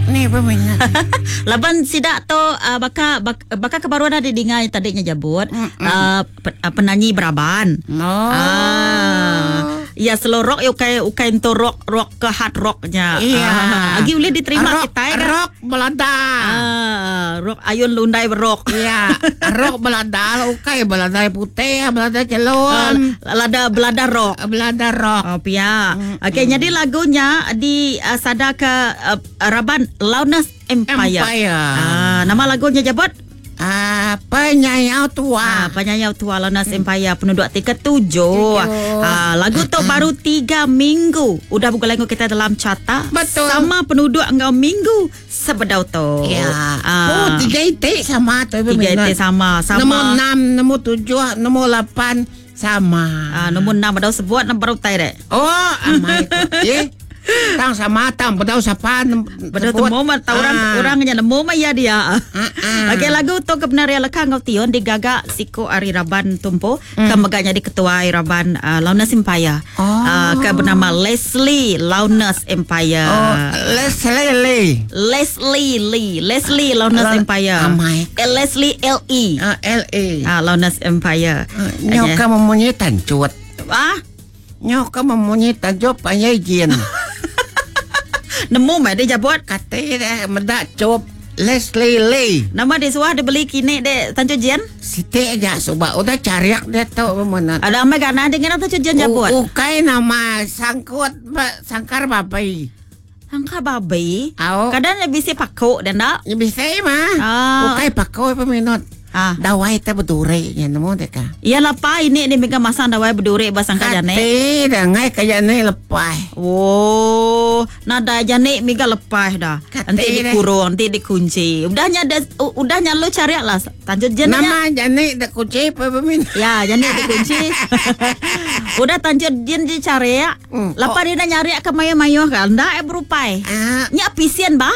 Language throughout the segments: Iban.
Ni peminat. Laban sida tu uh, baka bak, baka ke baru ada didinga tadi nya jabut uh, penanyi beraban. Oh. Ah. Ya slow rock ya ukai ukai entu rock rock ke hard rock nya. Iya. Ah, agi ulih diterima rock, kitai kan. Rock belada. Ah, rock ayun lundai berok. Iya, rock belada ukai belada putih, belada chelum. Uh, lada belada rock. Belada rock. Oh pia. Okey, jadi lagunya di uh, sada ke uh, Raban Loudness Empire. Empire. Ah, nama lagunya jabut? Ah, penyayau tua. Ah, penyayau tua Loudness Empire penduduk ti ketujuh. Ah, lagu tu baru 3 minggu udah begulai enggau kita dalam carta. Betul. Sama penduduk enggau minggu sebedau tu. Ya. Ah, Oh, tiga itik sama tu. Tiga itik sama, sama. Nombor enam, nombor tujuh, nombor lapan sama. Ah, nombor enam bedau sebut nombor utai dek. Oh, amai. Eh, tang sama tang bedau sapa Bedau temu mah tau orang Ah. orang nya nemu mah ya dia. ah. Okey lagu tu kebenaran leka enggau tion digaga siko ari raban tumpu mm. ke mega nyadi ketua raban uh, Loudness Empire. Oh. Uh, ke bernama Leslie Loudness Empire. Oh, Leslie Lee. Leslie Lee, Leslie Loudness La- Empire. Amai. Eh, Leslie L E. Ah, L E. Ah, Loudness Empire. Nyo ka memunyi tancut. Ah, Nyo ka memunyi tancut panyai jin. nemu mah dia jabut. Kata dia medak cup Leslie Lee. Nama dia suah dia beli kini dek Tancu Jian. Siti aja suba udah cariak dia tu memunat. Ada amai gana dengan Tancu Jian jabut. Ukai nama sangkut ba, sangkar babai. Angka babi. Au. Kadang dia bisi pakuk dan tak. Ya bisa mah. Ah. Ukai pakau peminat. Ah. Dawai te berduri nya nemu deka. Ya lapa ini ni mega masang dawai berduri basangka jane. Kati dah ngai kaya ni lepas. Oh, nada jane mega lepas dah. Kati Nanti deh. dikurung, nanti dikunci. Udahnya ada udahnya lu cari lah. Tanjut jen Nama jani dah kunci peminat. Ya, jane dikunci. Udah tanjut jen dicari ya. Lapa dia dah nyari ke mayo-mayo kan. Ndak eh berupai. Ah. Nya pisian bah.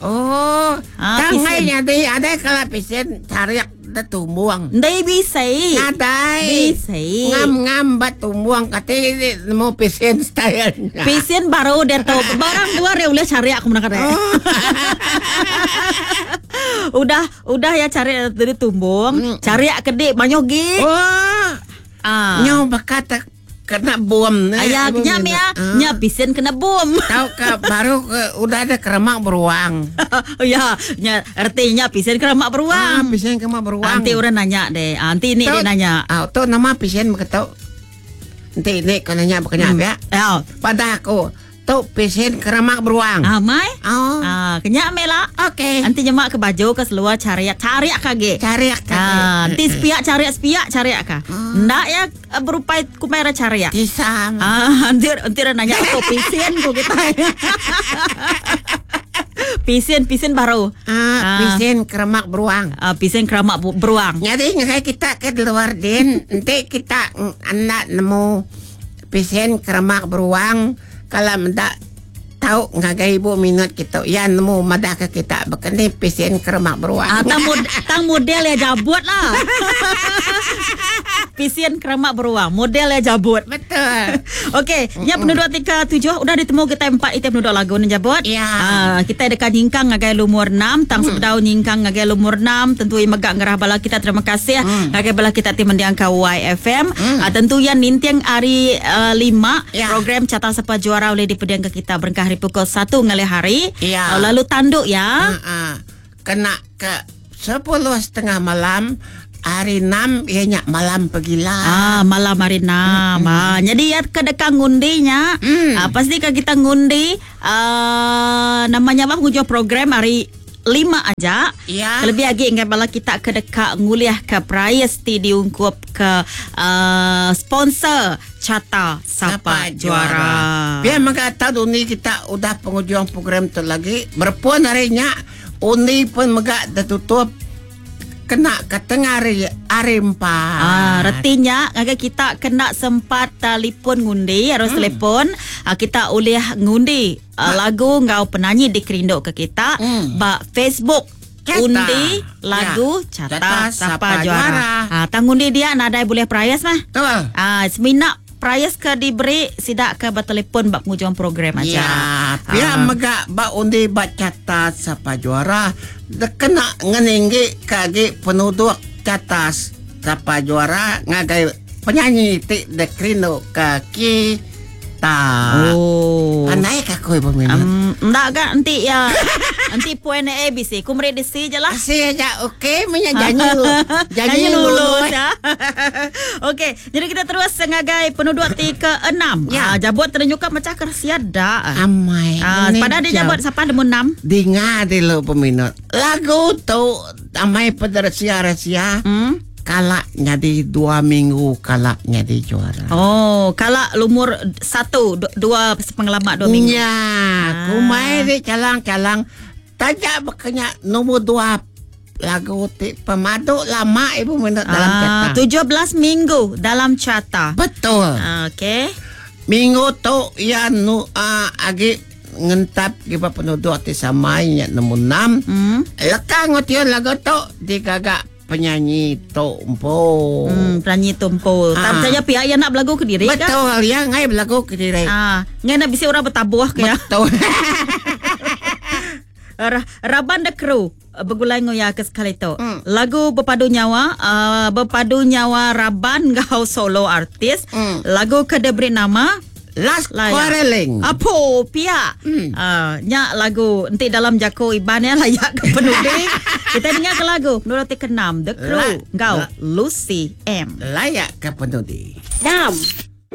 Oh, Ah, tangai pisen. jadi ada kalau pisen cariak dah tumbuang. Ndai bisa. Nadai. Bisa. Ngam ngam bat tumbuang kati nemu pisen style. Pisian baru dia tahu barang dua dia boleh cari aku menang kata. Oh. udah udah ya cari dari tumbung, cari kedik banyak gi. Oh, Ah. nyo bakat kena bom. Ayah kenyam ya, Ah. nya pisian kena bom. Tahu ke baru ke, udah ada keremak beruang. ya, nya artinya pisian kena mak Ah, beruang. pisen keremak beruang. Nanti orang nanya deh, nanti ini dia nanya. Ah, tu nama pisen begitu. Nanti ini kau nanya bukannya apa ya? Ya, Pada aku, tu pisen keremak beruang. amai. Oh, Ah, kenyak mela. okey. Nanti nyemak ke baju ke seluar cari cari kage. Cari kaki. Ah, nanti sepiak cari sepiak cari ka. Ndak ya eh, berupai kumera cari ya. Tisa. Ah, nanti nanti orang nanya aku pisian ku kita. pisian pisian baru. Ah, Ah. pisen keremak beruang. Ah, pisian keramak beruang. Jadi ngai kita ke luar din, nanti kita anak nemu pisen keremak beruang kalau mendak tahu ngagai ibu minat kita ya nemu madah ke kita bekeni pisen keremak beruang. Ah, tang, mod, tang model ya jabut lah. Pisian keramak beruang, model ya jabut. Betul. Okey, nya penduduk tika tujuh udah ditemu kita empat item penduduk lagu ni jabut. Ya. Ah, kita dekat nyingkang ngagai lumur 6, tang sebedau nyingkang ngagai lumur 6, tentu yang megak ngerah bala kita terima kasih ngagai bala kita ti mendiang ka YFM. Ah, tentu yang nintiang hari 5 Ya. program Carta Sapa Juara oleh dipediang ke kita berengkah hari pukul 1 ngalih hari. Ya. Ah, lalu tanduk ya. Ah, ah. Kena ke 10.30 malam hari 6 ianya malam pergilah. Ah, malam hari enam. Ah, jadi ya kedekang ngundinya. Ah, pasti ke kita ngundi ah, namanya apa penghujung program hari lima aja. Ya. Lebih lagi ingat bala kita ke dekat nguliah ke prize ti diungkup ke sponsor Carta Sapa, Juara. Biar maka tahu undi kita udah penghujung program tu lagi. Berpuan harinya undi pun megak tertutup kena ke tengah hari hari empat. Ah, retinya agak kita kena sempat telefon ngundi harus telefon ah, kita boleh ngundi ah, lagu ngau penyanyi dikerinduk ke kita ba Facebook Carta. undi lagu Ya. Carta Carta Sapa Sapa Juara. Juara. Ah, tang undi dia nadai boleh perayas mah. Betul. Ah, semina prize ke diberi sidak ke bertelefon bak penghujung program aja. Ya, pia mega ba undi ba carta sapa juara kena ngeninggi kagi penuduk carta sapa juara ngagai penyanyi ti dekrindu ke kita. Oh. Pandai ka aku ibu minat. Enggak ga enti ya. Enti poin A B C ku meri di C je lah. Kasih aja okey punya janji lu. Janji lulus ya. Okey, jadi kita terus ngagai penuduk ti ke-6. Ya. Ah, jabut ternyuka macam kersia dak. Amai. Ah, pada dia jabut siapa nombor 6? Dengar dulu peminat. Lagu tu amai pada rahsia-rahsia. Kalak jadi 2 minggu kalak jadi juara. Oh, kalak lumur 1 2 pengalaman 2 minggu. Ya, kumai di calang-calang tajak berkenya nombor 2 lagu ti pemadu lama ibu minat dalam carta. 17 minggu dalam carta. Betul. Okey. Minggu tu ya nu agi ngentap kiba penduduk ti samai nya nombor 6. Lekang ngotion lagu tu digagak penyanyi Tok Empo. Penyanyi Tok Empo. Tak percaya pihak yang nak berlagu ke diri kan? Betul, yang ngai berlagu ke diri. Ngai nak bisi orang bertabuh ke ya? Betul. Raban the crew bergulai ngoya ke sekali tu. Lagu berpadu nyawa, berpadu nyawa Raban gau solo artis. Lagu ke diberi nama Last Layak. Quarreling. Apo pia. Nyak lagu enti dalam jako Iban ya layak ke penuding. Kita dengar ke lagu menurut ti ke-6 The Crew gau Lucy M. Layak ke penuding. 6.